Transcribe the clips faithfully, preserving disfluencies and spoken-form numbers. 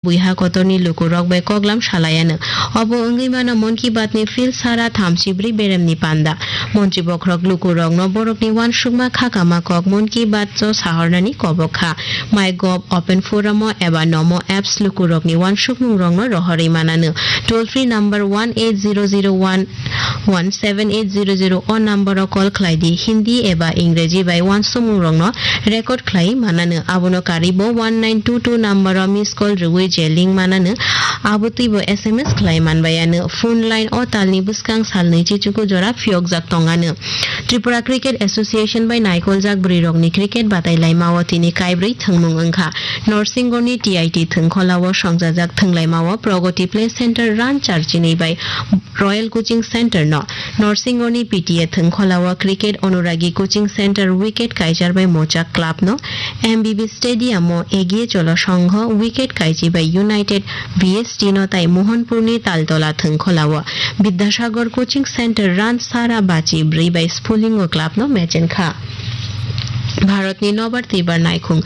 buiha kotorni lukurok bai koklam salaiano. Obo wngwi mano Mon Ki Baat ni field sara thamchi bwrwi beremni panda. Montri bokhorok lukurokno borokni uansukma khakama kok Mon Ki Baat o sahornani kobok kha. MyGov, Open Forum o eba Nomo apps lukurokni uansukmungrokno rohorwi manano. Toll free number one eight zero zero one one seven eight zero zero o number o call khlai di. Hindi eba Ingreji bai uansukmungrokno record khlai manano. Abono karwi bo one nine two two number o miss call rwui je link manano. Abo twibo S M S khlai manbaiano. Phone line o talni bwskang salnwi chichuku jora phiyokjak tongano. Tripura Cricket Association bai naikoljak bwrwirokni cricket batailaimao tini kaibrwi thwngmung wngkha. Norsingorni T I T thwngkholao songchajak thwnglaimao Pragati Play Center Ranchar chinwi bai Royal Coaching Center no, Norsingorni P T A thwngkholao Cricket Anuragi Coaching Center wicket kaichar bai Mochak Club no, M B B Stadium o Egiye Cholo Songho wicket kaichi bai United B S T no tai Mohanpurni Taltola thwngkholao Bidyasagar Coaching Center Ransara Bachi bwrwi bai Sphulingo Club no mechen kha. Bharatni nobar twibar naikhung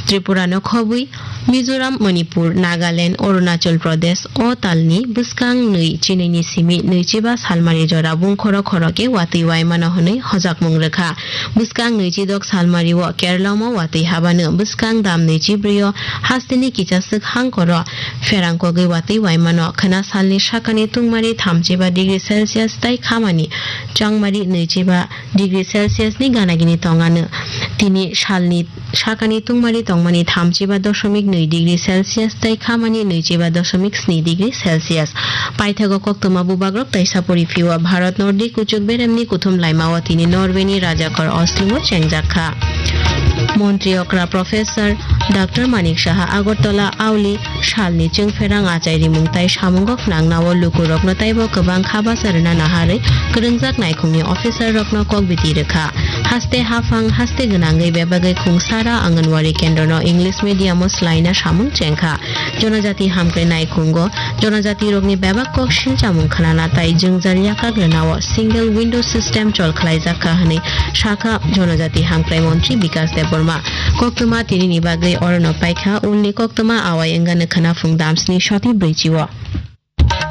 Tripura no khobwi Mizoram, Manipur, Nagaland, Arunachal Pradesh o talni bwskang nwi chinwini simi nwichiba salmari jora bungkhoro khorokhe watwi waimano hwnwi hojakmung rwkha. Bwskang nwichidok salmari o Kerala mo watwi habano bwskang dam nwichibrwi o hasteni kichaswk hangkoro pherangkogwi watwi waimano khwna salni sakani tungmari thamchiba degree Celsius tei khamani changmari nwichiba degree Celsius ni ganagini tongano. Tini salni sakani tungmari tongmani thamchiba dosomik nwi degree Celsius tei khamani nwichiba dosomik sni degree Celsius. Paithago koktwma bubagrok tei sapori phio Bharat Nordi kuchuk beremni kuthum laimao tini Norway ni rajakor Oslo o chengjak kha. Montri okra Professor Doctor Manik Saha Agartala auli salni chwngpherang achai rimung tai samungo phnangnao lukurokno taibo kwbang kha bacha rwna naharwi kwrwngjak naikhungni officer rokno kok biti rwkha. Haste haphang haste gwnangwi bebagwi khungsara Anganwadi kendrono English medium o swlaina samung chengkha. Jonojati hamkrai naikhungo jonojatirokni bebak kok silchamung khnana tai jwngjal yakak rwnao single window system chol khlaijak kha hwnwi sakha Jonojati hamkrai montri Bikas Debbarma. Koktwma tinini bagwi orono paikha, ulni koktwma awai wngano khwnaphung damsni soti brwichi o.